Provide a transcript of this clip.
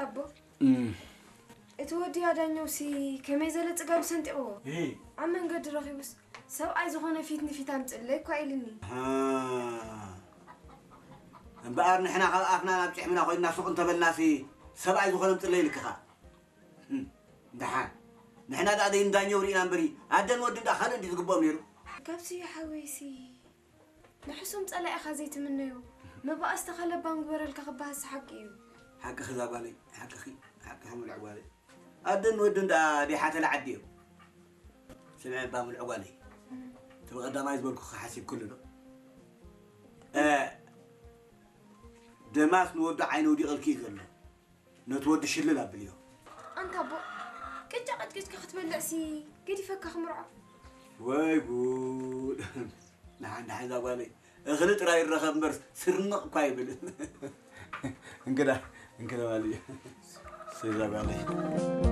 ኣቦ፣ እቲ ወዲ ኣዳኘውሲ ከመይ ዘለ ጽጋብ ሰንጢቕዎ? ኣብ መንገዲ ረኺቡስ፣ ሰብኣይ ዝኾነ ፊት ንፊት ኣምጽእለይ እኳ ኢልኒ። እምበኣር ንሕና ካብ ኣፍና ናብ ጭሕምና ኮይንና ሱቕ እንተበልናሲ፣ ሰብኣይ ዝኾነ ኣምጽእለይ ኢልክኻ። ደሓን ንሕና ደኣ ደይንዳኘው ርኢና እምበሪ፣ ኣደን ወድን ደኣ ካልእ እንዲ ዝግብኦም ነይሩ። ካብ ስዩ ሓወይሲ ንሕሱም ጸላኢኻ ዘይትምነዮ። መባእስቲ ካለባን ግበረልካ ክበሃስ ሓቂ እዩ። ሓቅኺ እዛ ጓለይ፣ ሓቅኺ፣ ሓቅኺ ምሉዕ ጓለይ። ኣደን ወድን ደኣ ደይ ሓተላ ዓዲ እዮም። ስምዒ እባ ምሉዕ ጓለይ፣ እቲ ብቐዳማይ ዝበልኩኺ ሓሲብክሉ ዶ? እ፣ ደማስ ንወዱ ዓይኑ ውዲቕልኪ እዩ ዘሎ። ነቲ ወዲ ሽልል ኣብልዮ። ኣንታ ኣቦ፣ ቅጫ ቀጭቂጭካ ክትበልዕሲ ገዲፈካ ክምርዖ። ወይ ጉድ! ንሓን ንሓን እዛ ጓለይ እኽሊ ጥራይ ይረኸብ እምበር ስርንቕ እኳ ይብል። እንግዳ እንግዳ ማለት እዩ። እዛ ጓለይ